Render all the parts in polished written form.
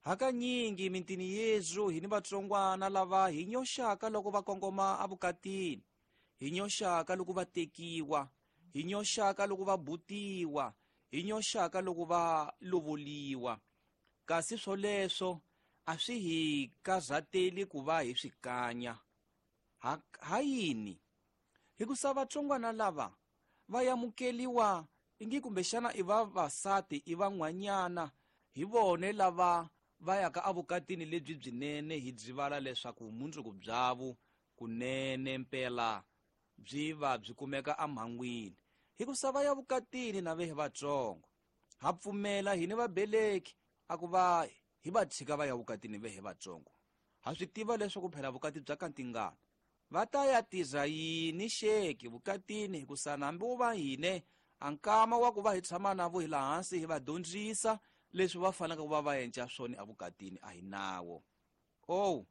Hakanyingi mitini yezu hi ni vatsongwana lava hi nyoxaka loko va kongoma evukatini, hi nyoxaka loko va tekiwa, hi nyoxaka loko va butiwa, hi nyoxaka loko va lovoliwa. Kasi swoleswo a swi hi karhateli ku va hi swi kanya. Ha yini? Hikusa vatsongwana lava va yamukeliwa ingi kumbexana i vavasati i van'wanyana, hi vone lava va yaka evukatini lebyi byinene, hi byivala leswaku vumundzuku byavo kunene mpela byi va byi kumeka emhangwini. Hikusa va ya vukatini na vehe vatsongo, ha pfumela hini vabeleki a ku va hi va tshika va ya vukatini vehe vatsongo. Ha swi tiva leswaku phela vukati bya kantingana va ta ya tirha yini xeki vukatini, hikusa hambi wo va hine a nkama wa ku va hi tshama na vo hi laha hansi hi va dyondzisa leswi va faneleke ku va va endla swona evukatini a hi nawo. Oh,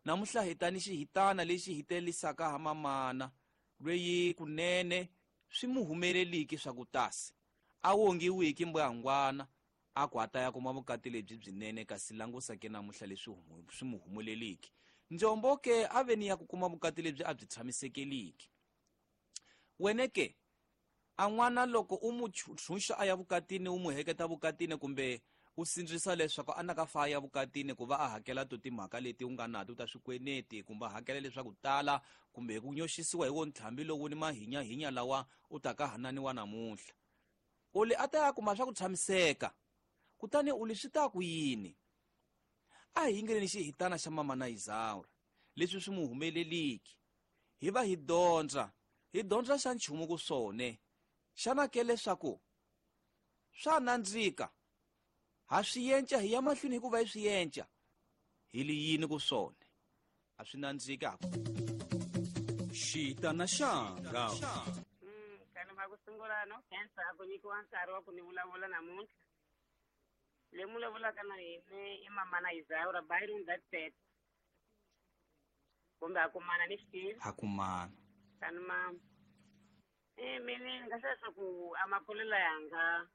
namuntlha hi ta ni xihitana lexi hi telisaka ha mamana lweyi kunene swi mu humeleliki swa ku tasi a wongiwiki mbuyangwana a ku a ta ya kuma vukati lebyi byinene, kasi langusa ke namuntlha leswi swi mu humeleliki. Njombo ke a ve ni ya ku kuma vukati lebyi a byi tshamisekeliki. Wene ke a n'wana loko u mu tshunxa a ya vukatini, u mu heketa vukatini kumbe u sindzisa leswaku a na ka fa ya vukatini ku va a hakela to timhaka leti u nga nato ta swikweleti, kumbe a hakela leswaku tala, kumbe hi ku nyoxisiwa hi wo ntlhambi lowu ni mahinyahinya lawa u ta ka hananiwa namuntlha. U li a ta ya kuma swa ku tshamiseka, kutani u li swi ta ku yini? A hi yingeleni xihitana xa mama na Izaura leswi swi mu humeleliki, hi va hi dyondza, hi dyondza xa nchumu ku swone. Xana ke leswaku swa nandzika, ha swi yenca hi ya mahlweni hikuva hi swi yenca, hi li yini ku swone? A swi nandziki ha ku. Xitana xanga. Kani va ku sungula no khensa a ku nyikiwa nkarhi wa ku ni vulavula namuntlha. Le mu vulavulaka na hina i mama na Izaura Byron that said. Kumbe a kumana ni xitivi. Ha kumana. Kani mama. Mina ni nga hlaya leswaku a makulelo yanga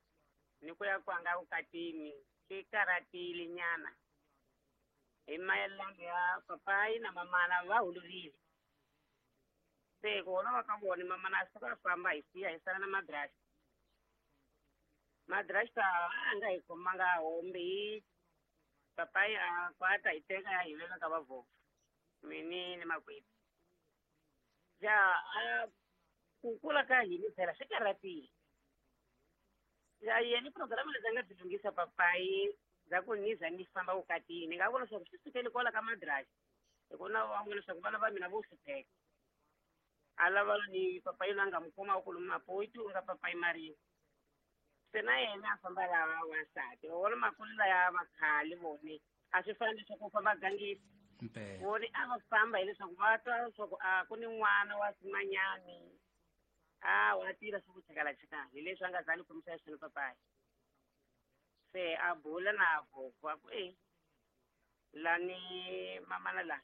ni ku ya kwanga vukatini swi karhatile nyana. Hi mayelana ya papayi na mamana va holorile. Se ku holova ka vona mamana a suka a famba hi siya hi sala na madrasta. Madrasta a nga hi khomanga hombi hi papayi a kwata hi teka ya hi veka ka vavhovho. Mini ni makwethu. Ja a ku kula ka hina phela swi karhatile. Ja yena programu leti a nga byi lunghisa papayi bya ku ni za ni famba vukatini, ni nga vona leswaku swi sukele kwala ka madrasta. Hi ku na va vona leswaku vana va mina vo hlupheka. A lava ni papayi loyi a nga n'wi khoma wa ku lomu Maputo, u nga papayi Marini. Se na yena a famba lava wansati. Va vona makulelo ya vakhale vone a swi fani leswaku u famba gangisa. Vone a va famba hileswaku va twa leswaku a ku ni n'wana wa simanyani. A wa tirha swa ku chakala-chakala, hi leswi a nga za ni khomisa xiswona papayi. Se a bula na vhovho a ku e lani mamana la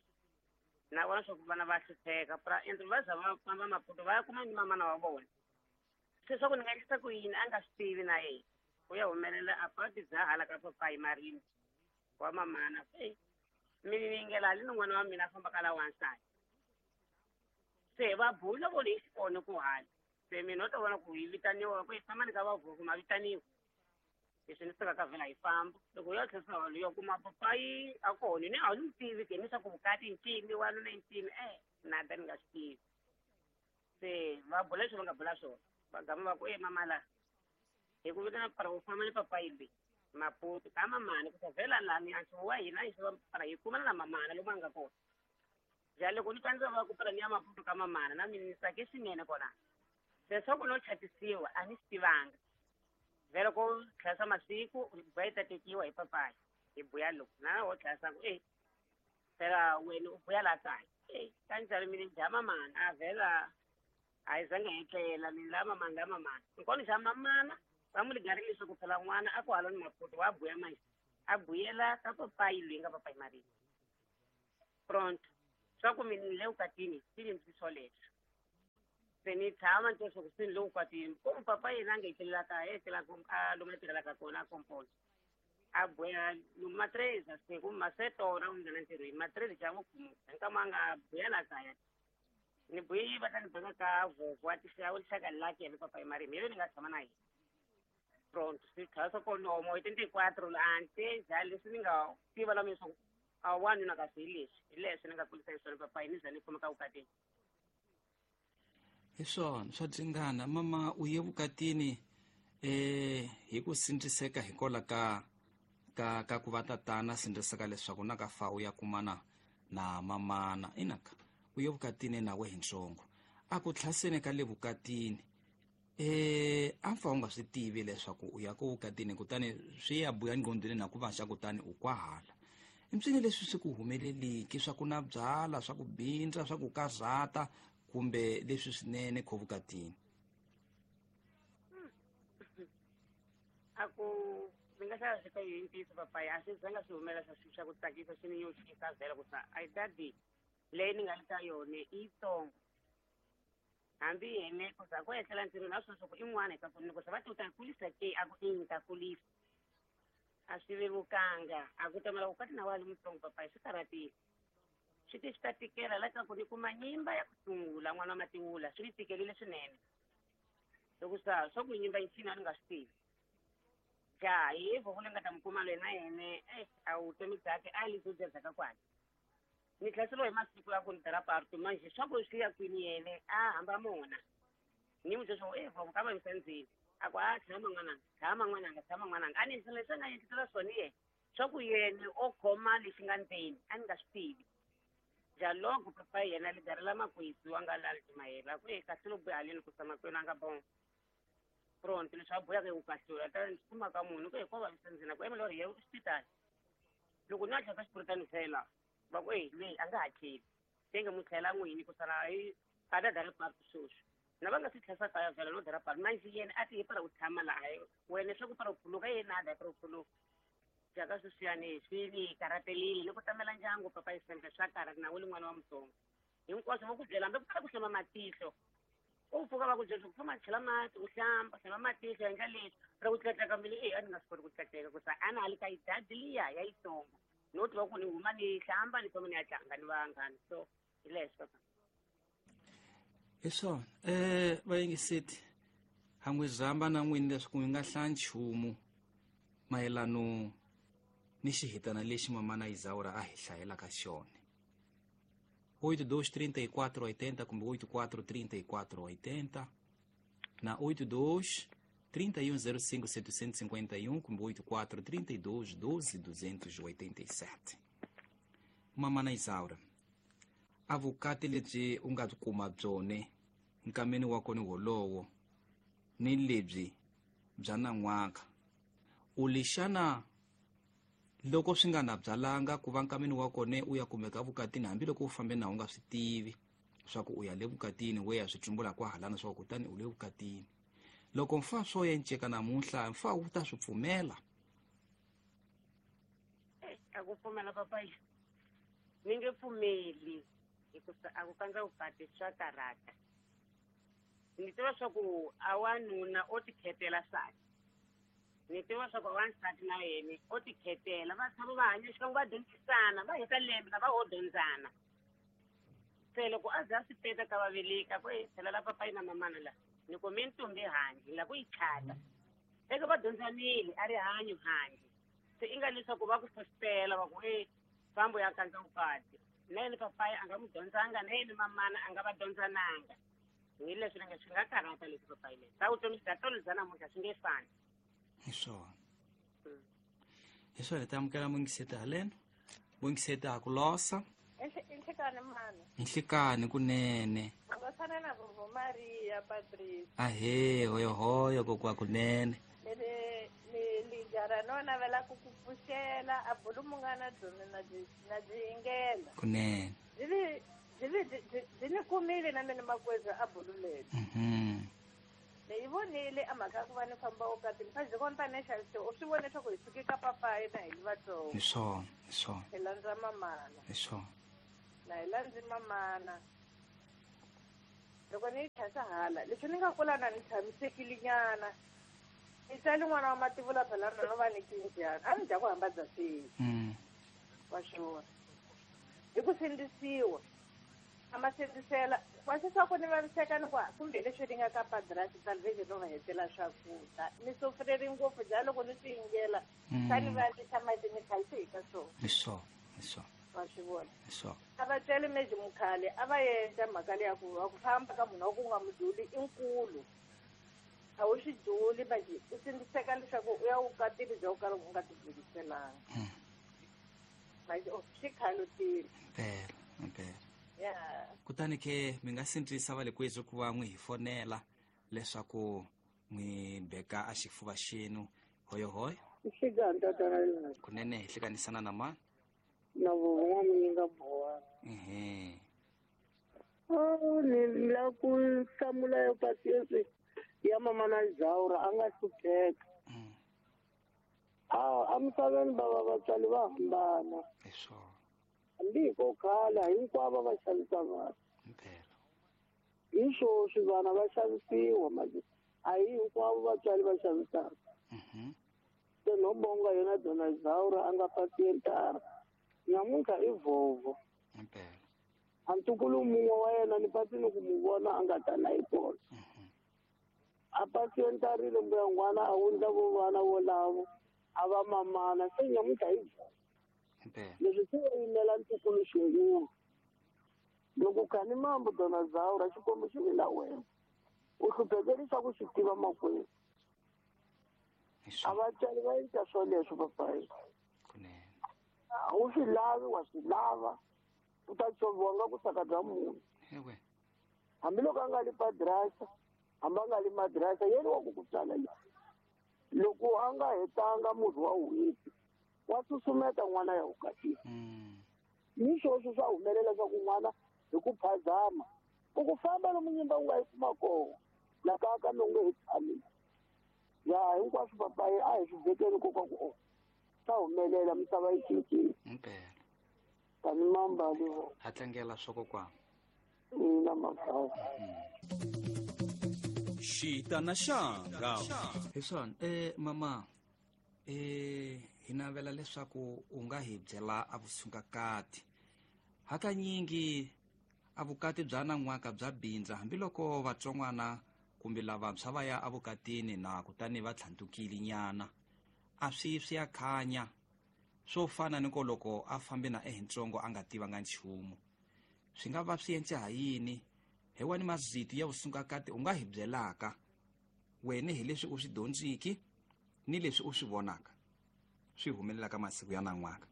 na vona swa ku vana va hlupheka pra endla va za va famba Maputo va ya kuma ni mamana wa vona. Se swa ku ni nga endlisa ku yini a nga swi tivi na yena. U ya humelela a pati bya hala ka papayi Marini wa mamana. E mina ni yingela hali ni n'wana wa mina a fambaka la wansati. Se va bula vona hi xikona ku hala. Se mina u ta vona ku hi vitaniwa ku hi famba ni ka vavhovho ma vitaniwa. Leswi ni suka ka vhela hi famba. Loko u ya tlherisa holo yo kuma papayi a kona ni a ni n'wi tivi ke ni swa ku vukati ncini wanuna i ncini nada ni nga swi tivi. Se va bula leswi va nga bula swona. Va gama va ku e mama la hi ku vitana para u famba ni papayi leyi Maputo ka mamana ku ta vhela lani a nxavo wa hina hi xava para hi kumana na mamana lomu a nga kona. Ja loko ni twa ndzi va ku para ni ya Maputo ka mamana na mina ni tsake swinene kona. Se swa ku no chatisiwa a ni swi tivanga. Vhela ko tlhasa masiku va yi ta tekiwa hi papayi hi buya loko na wo tlhasa ku e phela wena u buya la kaya e kanjhani mina dya mamana a vhela a yi zange hi tlela mina la mamana la mamana nkona xa mamana va mu ligarile leswaku phela n'wana a ku hala ni Maputo wa buya manje a buyela ka papayi loyi nga papayi Marini. Pronto swa ku mina ni le vukatini swi ni ndzi swoleswo. Se ni tshama ni twa leswaku se ni le vukatini ko papa yena a nga etlelela kaya etlela a lomu a tirhelaka kona a komponi. A buya matreza se ku masetora u nghena ntirhweni matreza xa n'wi nkama a nga buya la kaya ni buyi va ta ni beka ka voko wa tixawu lixaka lake ya papa marimi yele ni nga tshama na yena pronto swi tlhela swa konomo hi 34 la ante ja leswi ni nga tiva la mina swa ku a wanuna kasi hi leswi hi leswi ni nga kulisa hi swona papa ni za ni kumeka vukatini. Hi swona swa dzingana mama u ye vukatini hi ku sindziseka hikola ka ka ka ku va tatana sindziseka leswaku na ka fa u ya kumana na mamana inaka u ye vukatini nawe hi ntsongo a ku tlhaseni ka le vukatini a fa u nga swi tivi leswaku u ya ku vukatini kutani swi ya buya nqondweni na ku va xa kutani u kwahala impswini leswi swi ku humeleliki swa ku na byala swa ku bindza swa ku karhata kumbe leswi swinene kho vukatini. A ku ni nga hlaya swi ka yi ntiyiso papaya a swi zanga swi humela swa swa ku tsakisa swi ni yoxisa vhela ku sa a dadi leyi ni nga le ka yona i yitsongo hambi yene ku za ku etlela ntirhweni a swi swa ku i n'wana ka ku ni ku sa va ti u ta kulisa ke a ku i ni ta kulisa a swi vevukanga a ku tamela vukati na wa li mutsongo papaya swi karhatile swi ti swi ta tikela la ka ku ni kuma nyimba ya ku sungula n'wana wa matiwula swi ni tikelile swinene loko sa swa ku nyimba yi a ni nga swi tivi ja hi voko leyi nga ta mi kuma loyi na yene a vutomi byakhe a li byo byedzaka kwale ni tlhaseriwa hi masiku ya ku ni dara parto manje swa ku swi ya kwini yene a hamba mona ni n'wi byela swa ku voko ka vavisa ndzeni a ku a tshama n'wananga tshama n'wananga tshama n'wananga a ni endlisela leswi a nga endlisela swona yena swa ku yena o khoma lexi nga ndzeni a ni nga swi tivi ja loko papa yena li darela makwetsu a nga lali mayela ku kahle lo buya haleni ku sa makwenu a nga bon pronto leswi a buyaka hi ku kahlula ta ni kuma ka munhu ku ko vavisa ndzeni ku emela ri ye xipitali loko ni a tlhela xipuritani fela va ku leyi a nga ha tlheli se nge mu tlhela n'wini ku sala hi a ta dara parto sweswi na va nga swi tlhesa kaya vhela no dara parto manje yena a ti hi para ku tshama laha wena swa ku para ku phuluka yena a da para ku phuluka jaka sweswiyani swi ni karhatelile ni ku tamela ndyangu papa yi sembe swa karhata na wu li n'wana wa mutsongo hinkwaswo va ku byela hambi ku kala ku hlamba matihlo u pfuka va ku byela ku famba chela mati u hlamba hlamba matihlo endla leswi ra ku tlatleka mbilu a ni nga swi koti ku tlatleka ku sa a na ha li ka yidadi liya ya yitsongo no tiva ku ni huma ni hlamba ni famba ni ya tlanga ni vanghana so hi leswo papa. Hi swona vayingiseti ha n'wi zamba na n'wini leswaku mi nga hlaya nchumu mayelano ni xihitana lexi mamana Isaura a hi hlayelaka xona 82 34 80 kumbe 84 34 80 na 82 31 05 751 kumbe 84 32 12 287. Mamana Isaura a vukati lebyi u nga kuma byone nkameni wa kona wolowo ni lebyi bya nan'waka u lixana loko swi nga na byalanga ku va nkameni wa kona u ya kumeka vukatini hambiloko u fambe na u nga swi tivi swa ku u ya le vukatini we ya swi tsumbula kwahalana swa ku kutani u le vukatini loko mfa swo yenceka namuntlha mfa wu ta swi pfumela. A ku pfumela papa ni nge pfumeli hikuva a ku kandza vukati swa karhata ni tiva swa ku a wanuna o tikhetela nsati ni tiva swa ku wansati na yena o tikhetela va tshama va hanya xikan'we va dyondzisana va heta lembe na va ho dyondzana se loko a za a swi teka ka vaveleka ku tlhelela papayi na mamana la ni kume ntombi handle la ku yi chata eka va dyondzanile a ri hanyo handle se i nga leswaku va ku fositela va ku fambo ya kandza vukati na yena papayi a nga n'wi dyondzanga na yena mamana a nga va dyondzananga hi leswi ni nga swi nga karhata leswi papayi leswi ta vutomi bya tolo bya namuntlha swi nge fani. Hi swona hi swona hi ta amukela mungiseti haleno mungiseti a ku losa inhlekani mani inhlekani kunene u na Vovo Maria Patrice ahe hoyohoyo kokwa kunene ni jara no navela ku ku pfuxela a bulu munghana byona na byi yingela kunene byi ni kumile na mina makweza a bulu leri ni yi vonile a mhaka ya ku va ni famba vukatini fa byi vona tanihi xavise u swi vone leswaku hi suke ka papayi na hi li vatsongo hi swona hi swona hi landza mamana hi swona na hi landzi mamana loko ni yi tlhasa hala leswi ni nga kula na ni tshamisekile nyana Ni tsali n'wana wa mativula phela na no va ni kinjani. A ni dya ku hamba bya swi. Wa xona. Hi ku sindzisiwa. A ma sindzisela. Wa swi swa ku ni vaviseka ni ku kumbe leswi ni nga ka padrasi salvation no va hetela swakudya. Ni sofreri ngopfu bya loko ni swi yingela. Swa ni vavisa mati ni khalisi hi ka swona. Hi swona, hi swona. Wa swi vona. Hi swona. A va tswele meji mukhale a va endla mhaka leya ku va ku famba ka munhu wa ku nga muduli i nkulu. A wu swi duli manje u sindziseka leswaku u ya vukatini bya ku kala u nga tibuliselanga. Manje swi khalutile. Impela, impela. Ya. Kutani ke mi nga sindzisa va le kwethu ku va n'wi hi fonela leswaku n'wi beka a xifuva xenu hoyohoyo. Nhlikani tatana Rinati. Kunene hi hlekanisana na mani? Na vovo n'wamunyinga Bowani. Ehe. Oh, ni la ku hlamula yo pasiensi ya mama na Zaura a nga hlupheka. A misaveni bava vatswari va hambana. Hi swona. Hambi hi ko khala hinkwavo va xavisa vanhu. Impela. Hi swoswi vana va xavisiwa manje a hi hinkwavo vatswari va xavisaka. Se no bonga yena Dona Zaura a nga pasientara. Nyamuntlha i vovo. Impela. A ntukulu mun'we wa yena ni pasi ni ku mu vona a nga ta na yi kona. A pasientarile mbuya n'wana a wundla vo vana volavo a va mamana se nyamuntlha i vovo. Impela. Leswi swi va yimela ntukulu xingulu. Loko khani mambo Dona Zaura Xikwembu xi vi na wena. U hluphekeli swa ku swi tiva makwenu. A vatswari va endla swoleswo papayi. Kunene. A wu swi lavi wa swi lava. U ta tshoviwa nga ku saka bya munhu. Ewe. Hambiloko a nga li padrasa, hambi a nga li madrasa, yena wa ku ku tswala le. Loko a nga hetanga murhi wa n'hweti, wa susumeta n'wana ya vukatini. Ni swoswo swa humelela swa ku n'wana hi ku phazama. U ku famba lomu nyimba u nga yi kuma kona, la kaya ka mi nge he tshami. Ya hinkwaswo papayi a hi swi vekeni nkoka ku o swa humelela misava yi cincile. Impela. Tani mambali vo. Ha tlangela swa kokwana. Ina mabava. Xitana xanga. Hi swona, mama, hi navela leswaku u nga hi byela a vusungakati. Hakanyingi a vukati bya nan'waka bya bindza hambiloko vatsongwana kumbe lavantshwa va ya evukatini na kutani va tlhantukile nyana. A swi swi ya khanya. Swo fana ni ko loko a fambe na ehintsongo a nga tivanga nchumu. Swi nga va swi endle ha yini? Hi wani mazito ya vusungakati u nga hi byelaka wena hi leswi u swi dyondziki ni leswi u swi vonaka swi humelelaka masiku ya nan'waka.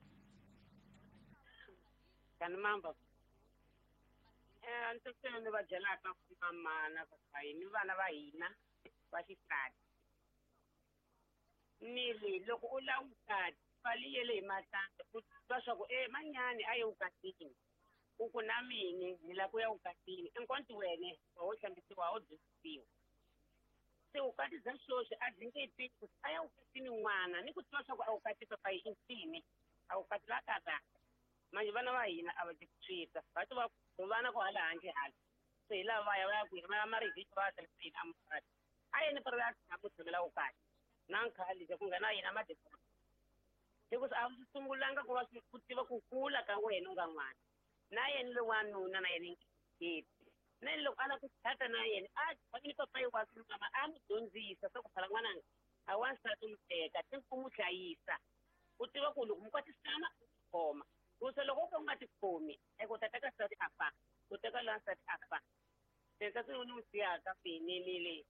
Kani mamba. Ntsena ni va byelaka mama na papayi ni vana va hina va xisati. Ni ri loko u lava vukati pfali yele hi matandza u twa swa ku manyani a ye vukatini. U ku na mini ni lava ku ya vukatini. Enkonti wene wa wo hlambisiwa wa wo dyondzisiwa. Se vukati bya sweswi a byi nge tiki ku a ya vukatini n'wana ni ku tiva swa ku a vukati papayi i ncini a vukati la karhata. Manje vana va hina a va ti swita va ti va ku vana ku hala handle hala. Se hi lava va ya va ya kwihi va ya marivhiki va ya hlayiseni a mukati. A yeni pera ya tshama ku tshamela vukati. Na nkhale ku nghena yena madekona. Hikuva a swi sungulanga ku va swi ku tiva ku kula ka wena u nga n'wana. Na yena loyi wanuna na yena i Na yena loko a lava ku tshata na yena, a tshami ni papayi wa ni mama a n'wi dyondzisa swa ku phala n'wananga a wansati u n'wi teka ti ku n'wi hlayisa. U tiva ku loko mi kwatisana u tikhoma. Ku se loko u ka u nga tikhomi, u ta teka nsati a fa, u teka loyi nsati a fa. Se nsati lowu ni n'wi siyaka mina ni le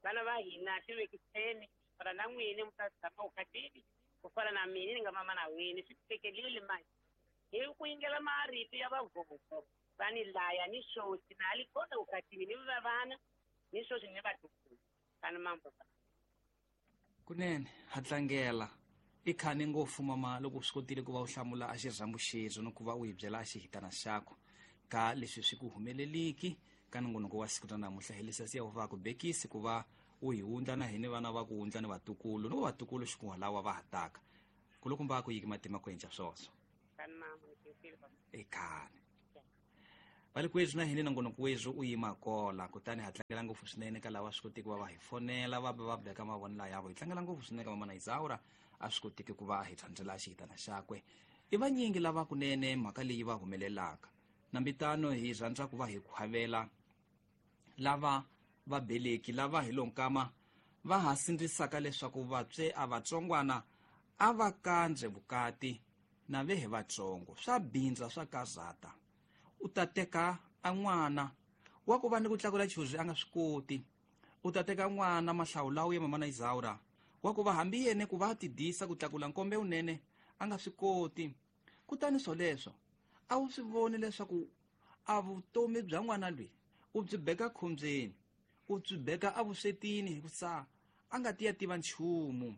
vana va hina ti vekiseni ku fana na n'wini mi ta tshama vukatini ku fana na mina ni nga mama na wini swi tekelile manje. Hi ku yingela marito ya vavovo va ni laya ni swoswi na li kona vukatini ni va vana ni swoswi ni vatukulu kani mambo. Kunene ha tlangela i khani ngopfu mama loko u swi kotile ku va u hlamula a xirhambo xexo ni ku va u hi byela a xihitana xakho ka leswi swi ku humeleliki ka nongonoko wa siku ra namuntlha. Hi leswi siya va ku bekisi ku va u hi wundla na hini vana va ku wundla ni vatukulu ni vatukulu xikun'wana va ha taka. Kulukumba ku yiki matima ku endla swoswo. I khani. Valikwethu na hini nongonoko wethu u yima kola, kutani ha tlangela ngopfu swinene ka lava swi kotiki va va hi fonela va va beka mavonelo yavo. Hi tlangela ngopfu swinene ka Mamana Isaura a swi kotiki ku va hi thandzela xihitana xakwe. I vanyingi lava kunene mhaka leyi va humelelaka. Nambitano hi rhandza ku va hi khwavela lava vabeleki lava hi lonkama va ha sindzisaka leswaku vatswe a vatsongwana a va kandze vukati na ve hi vatsongo. Swa bindza swa kazata. U ta teka a n'wana wa ku va ni ku tlakula chuzi a nga swi koti. U ta teka n'wana mahlawulawu ya Mamana Isaura wa ku va hambi yene ku va tidisa ku tlakula nkombe unene a nga swi koti. Kutani swoleswo a wu swi voni leswaku a vutomi bya n'wana loyi u byi beka khombyeni, u byi beka evuswetini hikusa a nga ti ya tiva nchumu.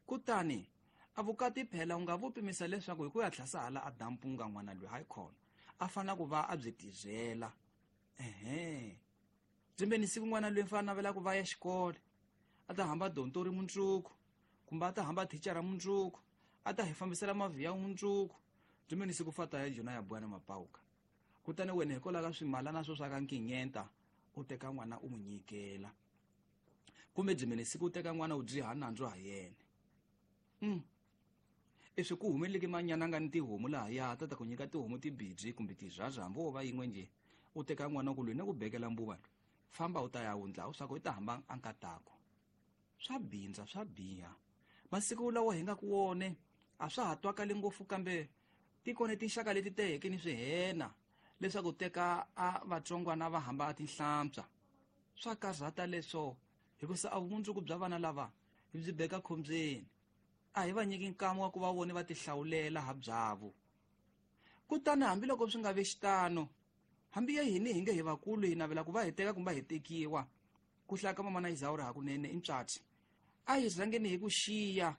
Kutani a vukati phela u nga vu pimisa leswaku hi ku ya tlhasa hala a dampunga n'wana loyi hayi khona a fanele ku va a byi tibyela. Ehe, byimbeni siku n'wana loyi fanele navela ku va ya xikolo, a ta hamba dontori mundzuku kumbe a ta hamba thicara mundzuku, a ta hi fambisela mavhiya mundzuku. Byimbeni siku fata ya jona ya bwana mapauka. Kutani wena hikwalaho ka swimalana swo swa ka nkinyenta u teka n'wana u n'wi nyikela, kumbe byimbeni siku u teka n'wana u dyiha nandzu ha yena. Leswi ku humeleleke manyana nga ni tihomu lahaya ta ta ku nyika tihomu tibidzi kumbe tizwaza hambi wo va yin'we nje, u teka n'wana ku lwi ni ku bekela mbuva loyi, famba u ta ya wundla u swa ku i ta hamba a nkatako. Swa bindza swa biha. Masiku lawa hi nga ku wone a swa ha twakali ngopfu, kambe tikone tinxaka leti teheke ni swihena leswaku teka a vatsongwana va hamba a tinhlampsa. Swa karhata leswo hikusa a vumundzuku bya vana lava hi byi beka khombyeni. A hi va nyiki nkama wa ku va vone va tihlawulela ha byavo. Kutani hambiloko swi nga vi xitano, hambi ya hini hi nge hi vakulu hi navela ku va hi teka kumbe hi tekiwa, ku hlaya ka Mamana Isaura hakunene i ntswatsi. A hi rhangeni hi ku xiya,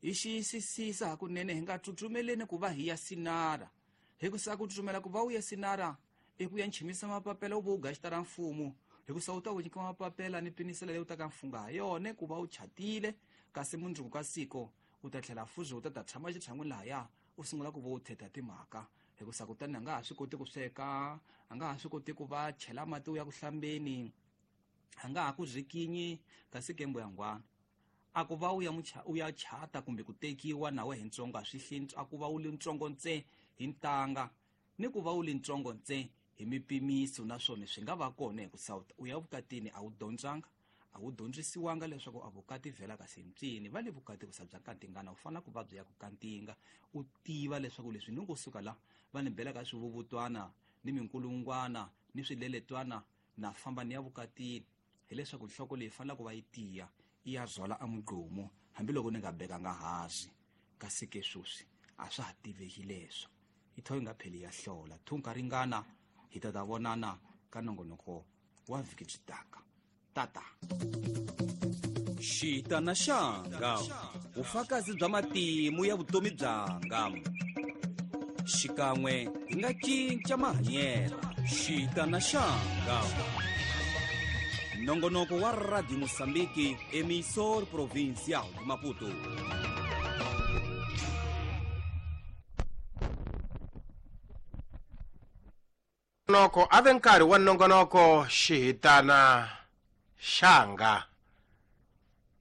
hi xiyisisisa hakunene, hi nga tsutsumeleni ku va hi ya sinara. Hikusa ku tsutsumela ku va u ya sinara i ku ya nchimisa mapapela u va u gaxita ra mfumo, hikusa u ta ku nyika mapapela ni pinisela leyi u ta ka mfunga ha yona ku va u chatile, kasi mundzuku ka siko u ta tlhela fuzi u ta ta tshama xitshan'wini lahaya u sungula ku va u thetha timhaka. Hikusa kutani a nga ha swi koti ku sweka, a nga ha swi koti ku va chela mati u ya ku hlambeni, a nga ha ku zikinyi kasi kembo ya ngwana. A ku va u ya u ya chata kumbe ku tekiwa nawe hi ntsongo a swi hli, a ku va u li ntsongo ntse hi ntanga ni ku va u li ntsongo ntse hi mipimiso, naswona swi nga va kona hikusa u ya vukatini a wu dyondzanga, a wu dyondzisiwanga leswaku a vukati vhela kasi ntsini. Va le vukati ku sa bya nkantingana, u fanele ku va bya ku kantinga, u tiva leswaku leswi ni ngo suka la va ni bela ka swivuvutwana ni minkulungwana ni swileletwana na famba ni ya vukatini, hileswaku nhloko leyi fanele ku va yi tiya i ya zwala a mugqomo hambiloko ni nga bekanga hansi. Kasi ke sweswi a swa ha tiveki leswo, i tho yi nga pheli ya hlola thunka ringana. Hi ta ta vonana ka nongonoko wa vhiki byi taka. Tata Xitana xanga, vufakazi bya matimu ya vutomi byanga. Xikan'we hi nga cinca mahanyelo. Xitana xanga, nongonoko wa Radio Mozambique, emissor provincial de Maputo. Nongonoko a ve nkarhi wa nongonoko xihitana xanga.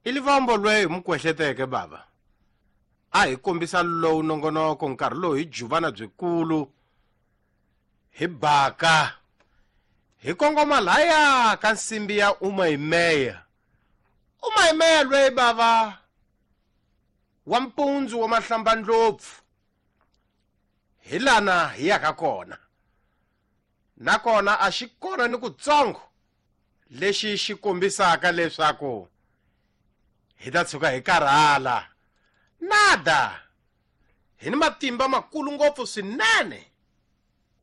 I livombo lweyi hi mu kwehleteke bava. A hi kombisa lowu nongonoko nkarhi lowu hi juvana byikulu hi baka hi kongoma laya ka nsimbi ya Umayimeya. Umayimeya lweyi bava wa mpundzu wa mahlambandlopfu hi lana hi yaka kona. Nakona a xi kona ni kutsongo lexi xi kombisaka leswaku hi ta tshuka hi karhala. Nada, hi ni matimba makulu ngopfu swinene.